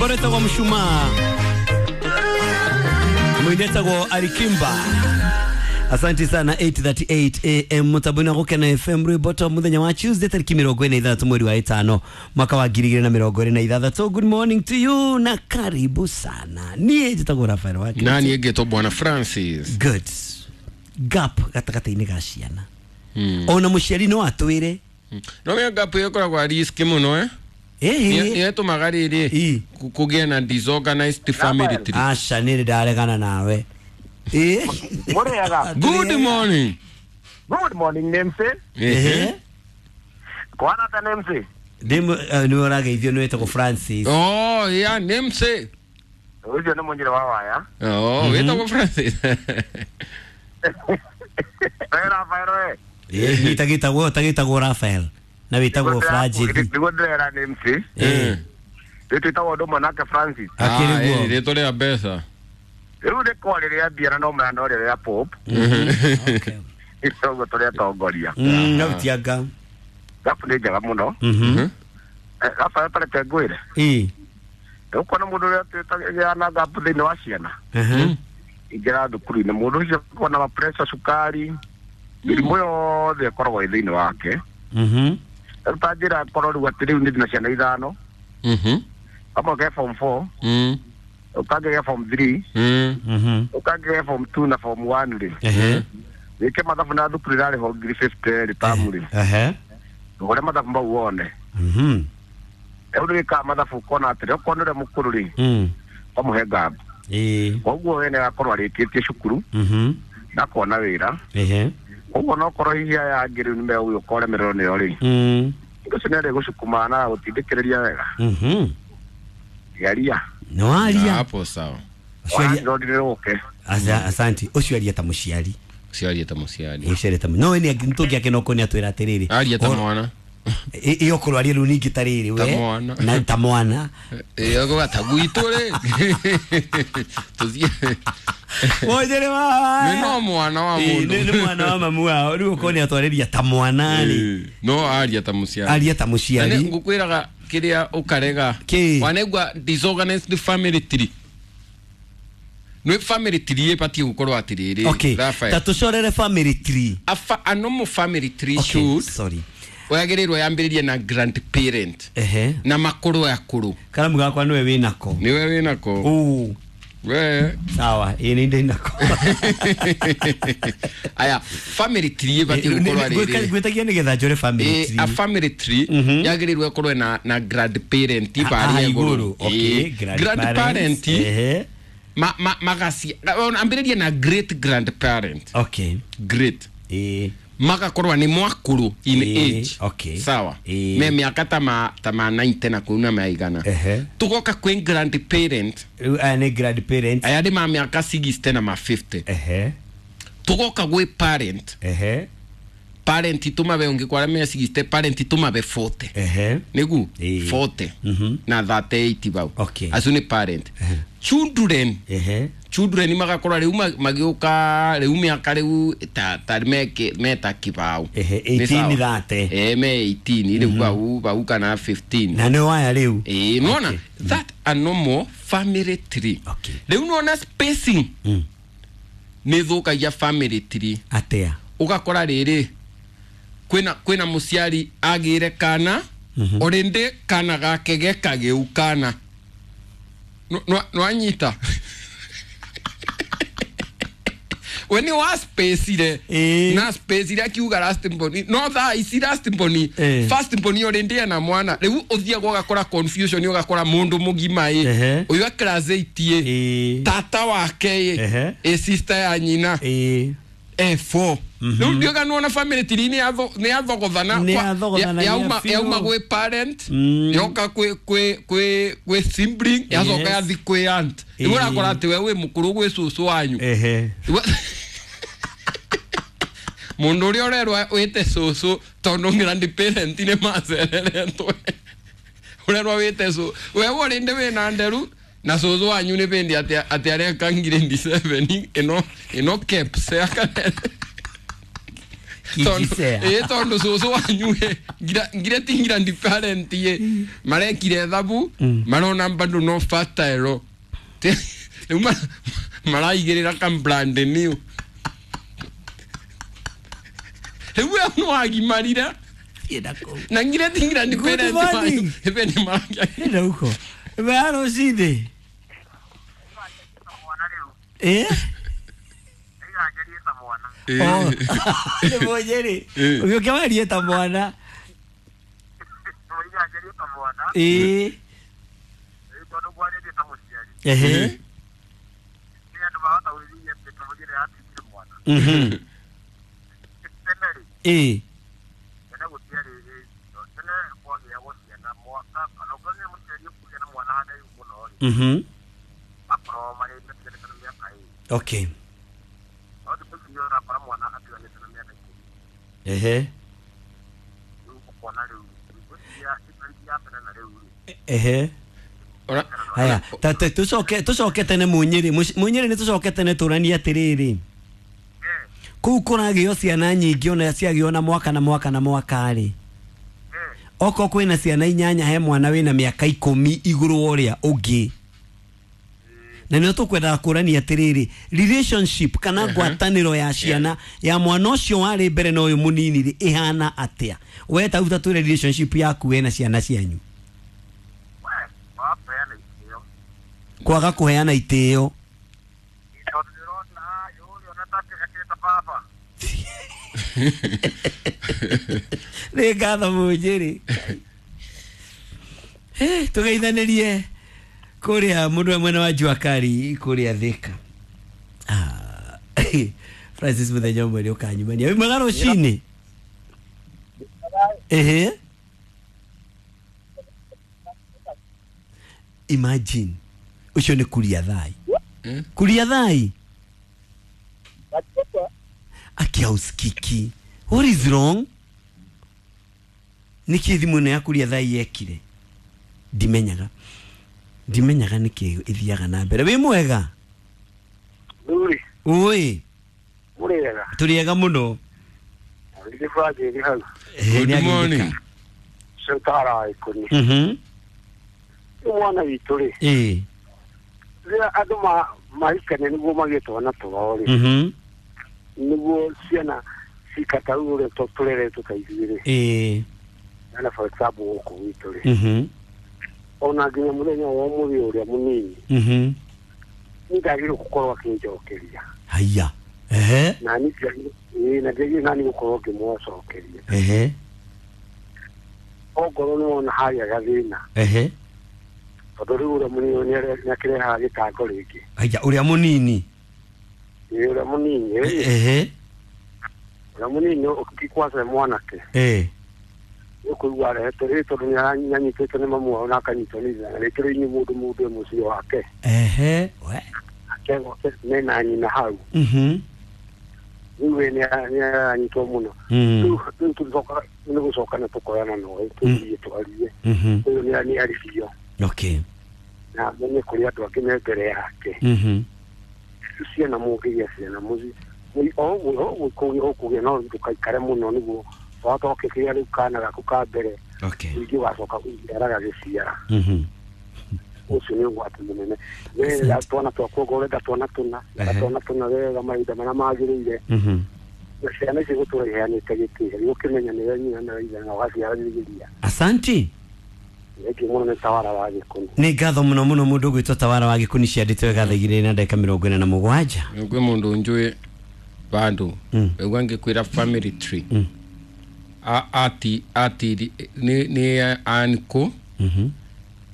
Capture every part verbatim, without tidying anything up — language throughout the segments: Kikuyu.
Rwimbo rwĩtagwo Mshumaa, mwinetagwo Alikimba. Asante sana. eight thirty-eight A M mutabona gukena F M rwimbo to muthenya wa Tuesday tariki mirongo ine ithathatũ mweri wa ĩtano mwaka wa ngiri igĩrĩ na mĩrongo ĩrĩ na ithathatũ. Good morning to you na karibu sana. Niĩ njĩtagwo Rafael wa Na niĩ ngĩtwo Bwana Francis. Good. Gap gatagatĩ-inĩ ga ciana. Mm. Ona mũciari no atwĩre. Mm. No menya gap ĩyo ĩkoragwo risk mũno eh. Eh. Nĩ ĩtũmaga rĩrĩ kũgĩa na disorganized family tree. Aca nĩ ndaregana nawe. Eh. Mũrĩega. Good morning. Good morning Nemse. Eh. Kwana ta Nemse. Ndimo nĩ ũrageithio nĩ wĩtagwo Francis. Oh, yeah, Nemse. Ũcio nĩ mũnyire wa waya. Oh, wĩtagwo Francis. Rafael we. Eh, nitagitagwo tagitagwo Rafael. Na wĩtagwo Francis. Niguo ndĩrera Nemse. Eh. Twĩtagwo ũndũ ũmwe nake Francis. Akĩrĩ guo. Rĩtwa rĩa mbeca. Rĩu nĩ kwa rĩrĩa mbia na no maya no rĩrĩa pop. Okay. Itogo tũrĩa tongoria. Mm, no tianga. Gapu nĩ njega mũno. Mhm. Rafael tareke ngwĩre. Ĩ. Ũkuona mũndũ ũrĩa twĩtagĩra na gapu thĩinĩ wa ciana. Mhm. Ingĩra thukuru-inĩ mũndũ ũcio akona ma pressure, cukari, mĩrimũ yothe ĩkoragwo ĩ thĩinĩ wake. Mhm. Rĩu ta njĩra korwo rĩu atĩ rĩu nĩ ndĩna ciana ithano. Mhm. Kamwe ke form four. Mm. Ũkangĩ ke form three. Mm. Mhm. Ũkangĩ ke form two na form one rĩ. Ehe. Wĩke mathabu na thukuru ĩrarĩhwo ngiri fifty rĩ tamu rĩ. Ehe. Ũrĩa mathabu mau wone. Mhm. Rĩu nĩwĩkaga mathabu ũkona atĩrĩ okorwo nĩ ũrĩa mũkũrũ rĩ. Mm. Ũkamũhe ngabu. Ĩĩ. Koguo we nĩagakorwo arĩkĩtie cukuru. Mhm. Na akona wĩra. Ehe. Koguo no korwo hihi aya angĩ rĩu nĩmegũgĩũka ũremererwo nĩo rĩ. Mm. Ũcio nĩarĩ gũcukuma na gũtindĩkĩrĩria wega. Mhm. Geria. No aria. Hapo sawa. Asa asante. Ũcio aria ta mũciari. Ũcio aria ta mũciari. Ũcio aria ta no ni ntũngĩake no kũnia twĩra atĩrĩrĩ. Aria ta mwana. Iyo korwo aria rĩu ningĩ ta rĩrĩ we. Ta mwana. Na ta mwana. Ĩyo gũga ta gwitũ rĩ. Tũthiĩ. Wojere wa. Nĩ no mwana wa mũndũ. Nĩ mwana wa mamu wao. Rĩu ũkona atwarĩria ta mwana rĩ. No aria ta mũciari. Aria ta mũciari. Na ngũkwĩraga kĩrĩa ũkarega. Wanegwa disorganized family tree. Nĩ family tree ĩbatiĩ gũkorwo atĩrĩrĩ. Okay. Ta tũcorere family tree. A, a normal family tree okay, should. Sorry. Wagĩrĩirwo yambĩrĩrie na grandparent. Ehe. Na makũrũ akũrũ. Karamu gakwa nĩwe wĩnako. Nĩwe wĩnako. Uu. We. Sawa, ĩ nĩ ndĩnako. Aya, family tree ĩbatiĩ gũkorwo rĩrĩ. Ngwĩtagia nĩgetha njore family tree. A family tree yagĩrĩirwo ĩkorwo na na grandparent barĩa igũrũ. Okay, grandparent. Ehe. Ma ma magaci ambĩrĩrie na great grandparent. Okay. Great. Eh. Magakorwo nĩ mwakũrũ in age. Okay. Sawa. Me mĩaka ta ma ta ma ninety na kũu na maigana. Tugoka kwĩ grandparent. Rĩu aya nĩ grandparent. Aya nĩ ma mĩaka sixty na ma fifty. Ehe. Tugoka gwĩ parent. Ehe. Parent tumabe ũngĩkwara me sixty, parent tumabe forty. Ehe. Nĩgu forty. Na thirty-eight bau. Okay. Acio nĩ parent. Children. Ehe. Children magakorwo rĩu magĩũka rĩu mĩaka rĩu ta ta meke meta kibao. Ehe, eighteen thirty. Eh, me eighteen rĩu bau bau kana fifteen. Na nĩ waya rĩu. Eh, nona that a normal family tree. Okay. Rĩu nona spacing. Mm. Nĩ thũkagia family tree. Atia. Ũgakora rĩrĩ kwĩna kwĩna mũciari agĩre kana orĩndĩ kana gake gekagĩu kana. No no anyita. We ni wa space ile na space ile akiuga last mboni no thaa ici last mboni first mboni orĩndĩ na mwana rĩu ũthiaga ũgakora confusion ũgakora mũndũ mũgima ĩ ũyũ class eight ĩ tata wake ĩ ĩ sister ya nyina ĩ E four. Rĩu ndiũga nĩwona family tree nĩ yathogothana yauma yauma gwĩ parent yoka kwĩ kwĩ kwĩ kwĩ sibling yacoka yathi kwĩ aunt. Rĩu ũrakora atĩ we wĩ mũkũrũ gwĩ cũcũ wanyu. Ehe. Mũndũ ũrĩa ũrerwo wĩte cũcũ tondũ grandparent nĩ macereretwo. Ũrerwo wĩte cũ we ũrĩndĩ wĩna nderu na cũcũ wanyu nĩ bĩndĩ atĩ atĩ areka ngiri seven ĩno ĩno caps. Tondu tondu cucu wanyu ngira ti grandparent ye marekire thabu marona bado no fertile riu maraigirira ka brand new riu we no wagimarire na ngira ti grandparent wanyu ebe ni marakia enda huko ebe rocini eh oh nĩ mũnyĩrĩ ũgĩũka warie ta mwana ĩĩ ehe mhm ĩĩ mhm okay. Ehe. Ehe. Haya, tate tucoke tucoke tene munyiri munyiri ni tucoke tene turanie atiriri. Kuu kuragio ciana nyingi ona ciagio na mwaka na mwaka na mwaka ri. Oko kwina ciana inyanya he mwana wina miaka ikumi iguru uria ungi. Na nä tå kũrania atiriri relationship kana ngwatanĩro ya ciana ya mwana ũcio warĩ mbere na ũyũ mũnini rĩ ĩhana atĩa we ta uta twĩre relationship yaku we na ciana cianyu kwaga kũheana itĩo nĩ ngatho mũnjĩrĩ tũgeithanĩrie kuria mundu mwena wa jua kali kuria Thika. Ah, Francis muthenya umwe ukanyumania wi mwega rucini. Ehe, imagine ucio ni kuria thai kuria thai aki hausikiki. What is wrong? Niki thimu ya kuria thai yekire ndimenyaga ndimenyaga niki ithiaga na mbere. Wi mwega Nduri ui muriega turiega muno. Good morning. Sentara ikuni mhm mwana witu ri eh rira andu ma mahikane niguo magitwo na twao ri mhm niguo ciana cikata ure tureretwo ta ithuĩ ri eh na for example guku gwitu ri mhm ona nginya muthenya wa umuthi uria munini mhm ni ndagirwo gukorwo akinjokeria haya ehe na ni na ndiagirwo nani gukorwo ngimũcokeria ehe ongorwo nĩ wona harĩa gathĩna ehe tondu riu uria munini nĩakĩrehaga gĩtango rĩngĩ haya uria munini ĩĩ uria munini ehe uria munini ũkĩkwasa mwanake eh ũkũigua arehete rĩ tondũ nĩanyitĩtwo nĩ mamu wao na akanyitwo nĩ ithe na rĩngĩ rĩu inyuĩ mũndũ mũndũ e mũciĩ wake ehe we akegwo mena nyina hau mhm rĩu we nĩaranyitwo mũno rĩu rĩu tũcoka nĩ gũcoka na tũkoyana nowe tũthiĩ twarie mhm ũyũ nĩ aribio okay na menye kũrĩ andũ angĩ me mbere yake mhm ciana mũngĩgĩa ciana mũciĩ o ũkũgĩa no ndũkaikare mũno nĩguo watoke kĩrĩa rĩu kana gaku ka mbere okay ningĩ wacoka ũciara gagĩciara mhm ũcio nĩ ũgwati mũnene wega twana twakwa ũrenda twana tũna twana tũna wega mahinda marĩa magĩrĩire mhm na ciana ici gũtũra iheanĩte gĩtĩo nĩ ũkĩmenya nĩwe nyina na ithe na ũgaciaranĩria asanti Eki muno nĩ tawara wa Gĩkũni nĩ ngatho mũno mũno mũndũ ũgwĩtwo tawara wa Gĩkũni ciandĩtwo wega thaa igĩrĩ na ndagĩka mĩrongo ĩna na mũgwanja kwĩ mũndũ njũĩ bandũ ĩgua ngĩkwĩra family tree Mm. A- ati ati nĩ nĩ anko mhm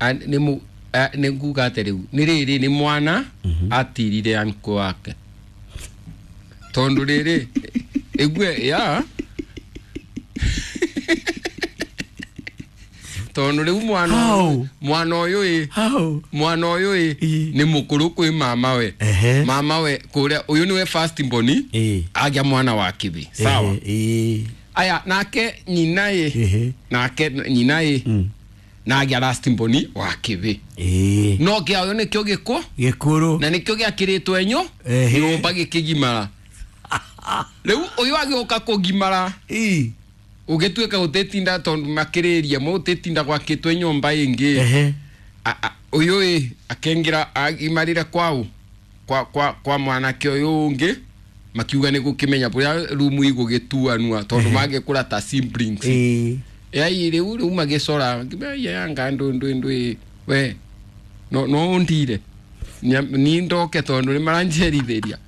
An- nĩ mu a- nĩ nguga atĩ rĩu nĩ rĩrĩ nĩ mwana atirire anko wake tondũ rĩrĩ ĩgue ya tondũ rĩu mwana How? mwana ũyũ ĩ how mwana ũyũ ĩ Ĩ. nĩ mũkũrũ kwĩ mama we ehe mama we kũrĩa ũyũ nĩwe first born ĩ agĩa mwana wa kĩbĩ sawa ĩ aya nake nyina ĩ ehe nake nyina ĩ mm na agĩa last born wa kĩbĩ ĩ no kĩa ũyũ nĩkĩo gĩkũ gĩkũrũ na nĩkĩo gĩakĩrĩtwo enyo Ehe. nyũmba gĩkĩgimara Rĩu ũyũ agĩũka kũgimara Ii. ũgĩtuĩka gũtĩtinda tondũ makĩrĩria mũgũtĩtinda gwakĩtwo nyũmba ĩngĩ. Ehe. A- a- ũyũ ĩ akĩingĩra agimarire kwao kwa kwa kwa mwanake ũyũ ũngĩ makiuga nĩ gũkĩmenya bũrĩa rumu igũgĩtuanua tondũ mangĩkũra ta siblings. Ii. Yai rĩu rĩu magĩcora yanga ndũ ndũ ndũ we no no ũndire Nya- ni ndoke tondũ nĩ maranjerithĩria.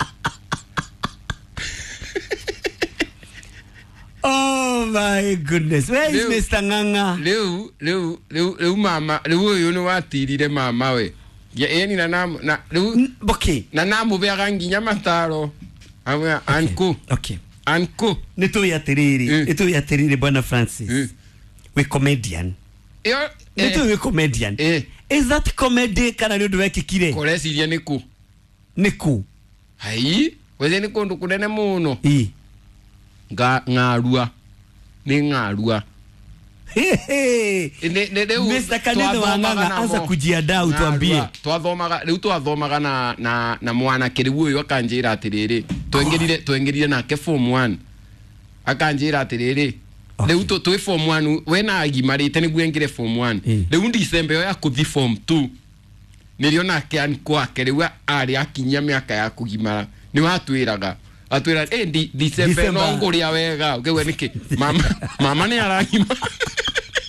Oh my goodness. Where is Rĩu- Mister Ng'ang'a? Rĩu rĩu rĩu rĩu mama rĩu ũyũ nĩ watirire mama we ĩni na na na rĩu N- Okay. na namũbeaga nginya mataro amwe anku Okay. anku Nĩ tũĩ atĩrĩrĩ, Mm. nĩ tũĩ atĩrĩrĩ Bwana Francis. Mm. We comedian. Ĩyo Nĩ tũĩ we comedian. Eh. Is that comedy kana nĩ ũndũ wekĩkire? Kũreciria nĩ kũ? Nĩ kũ? Hai wethe nĩ kũndũ kũnene mũno. Ii. Nga- ng'arua nĩ ng'arua. Hey, hey. Nĩ- nĩ- rĩu Mister Kanithe wa twathomaga Ng'ang'a, namo. anza kujiandaa utuambie. Ng'arua. Twathomaga rĩu twathomaga na na na mwanake rĩu ũyũ akanjĩra atĩrĩrĩ twengĩrire twengĩrire nake form one akanjĩra atĩrĩrĩ Okay. rĩu tũ- twĩ form one we na agimarĩte nĩguo engĩre form one. Eh. Rĩu December ĩyo ya kũthi form two nĩrĩo nake ankwake rĩu arĩ akinyia mĩaka ya kũgimara nĩ watwĩraga atwĩra eh, di- December no December. ngũrĩa wega ũkĩgua nĩkĩ mama mama nĩ aragima.